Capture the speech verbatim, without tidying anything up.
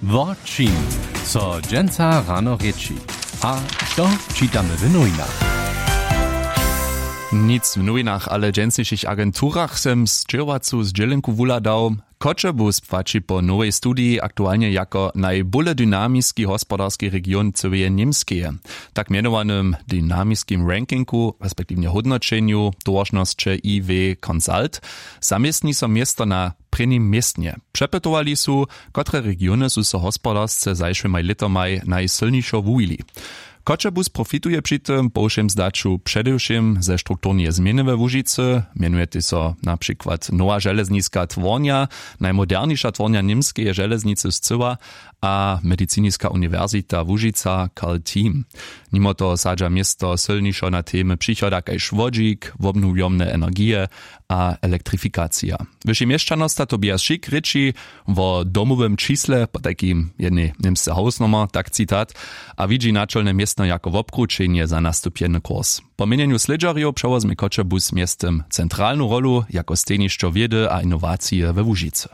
Wo čim so dźensa rano rěči a što čitamy w nowinach? Nic w nowinach, ale w dźensnišich agenturach sym sćěhowacu zdźělenku wuhladał. Choćebuz płaći po nowej studiji aktualnje jako najbóle dynamiski hospodarski region cyłeje Němskeje. Tak mjenowanym dynamiskim rankingu respektiwnje hódnoćenju towaršnosće I W Consult zaměstni so město na prěnim městnje. Přepytowali su, kotre regiony su so hospodarsce zašłymaj lětomaj najsylnišo wuwili. Choćebuz profituje při tym po wšěm zdaću předewšěm ze strukturneje změny we Łužicy, mjenujety so na přikład nowa železniska twornja, najmoderniša twornja němskeje železnicy scyła, a mediciniska uniwersita Łužica Karl Team. Nimo toho sadźa město sylnišo na temy přichoda kaž wodźik, wobnowjomne energije a elektrifikacija. Wyši měšćanosta Tobias Schick rěči wo domowym čisle, potajkim jednej němsce hausnomer, tak citat, a widźi načolne městno jako wobkrućenje za nastupjeny kurs. Po měnjenju slědźerjow přewozmy Choćebuz mjeztym centralnu rolu jako stejnišćo wědy a inowacije we Łužicy.